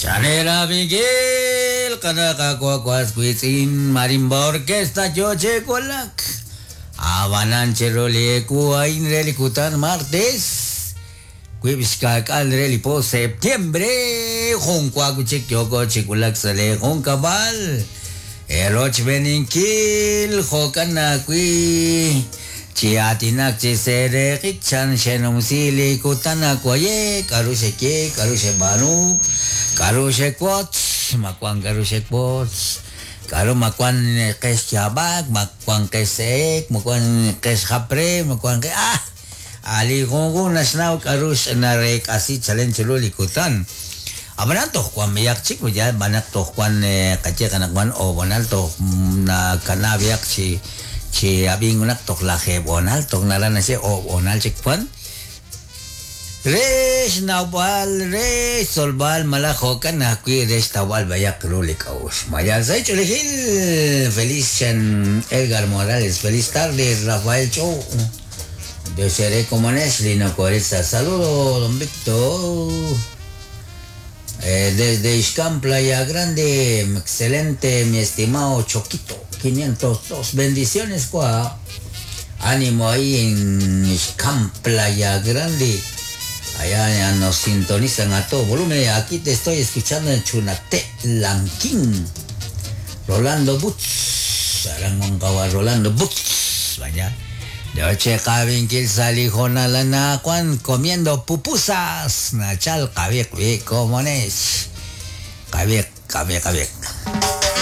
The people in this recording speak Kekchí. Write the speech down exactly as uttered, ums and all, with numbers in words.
Chanera Miguel, Kanakakuakuaskuitzin, Marimba Orquesta, Yoche Kolak. Abananche Roli Kuain Relikutan martes. Kuibishkakal Relipo septiembre. Junkuakuchik Yoko Chikulak Sale Junkabal. Eroch Beninkil, Jokanakui. Chiatinak chiserekik chan shenumsili kutanakuaye, karusheke, karushebanu, karushekwotz, makuan karushekwotz, karu makuan keshabak, makuan kesek, makuan keshapre, makuan ke ah, ali gungun nasnaw karush narek asi chalen chululi kutan. Abanan toh kuan miyak chik, ya banak toh kuan kache kanak kuan o bonal toh na kanabiak chi chi abing unak tok laje bonal tok narana se o bonal chikpan resh nawal resh solbal malajo kana kui resh tawal bayak rulik aus mayal sai chulejil. Feliz Chan Edgar Morales, feliz tarde Rafael Chow de Seré como Nesli no Coreza, saludo don Víctor. Eh, desde Ixcán, Playa Grande, excelente mi estimado Choquito, quinientos dos, bendiciones, cuá. Ánimo ahí en Ixcán, Playa Grande. Allá ya nos sintonizan a todo volumen. Aquí te estoy escuchando en Chunate, Lanquín. Rolando Butz, Arangongawa Rolando Butz, vaya. De oche kabin kil salijo nalana Juan comiendo pupusas. Nachal kabik bi comones. Kabik, kabik, kabik.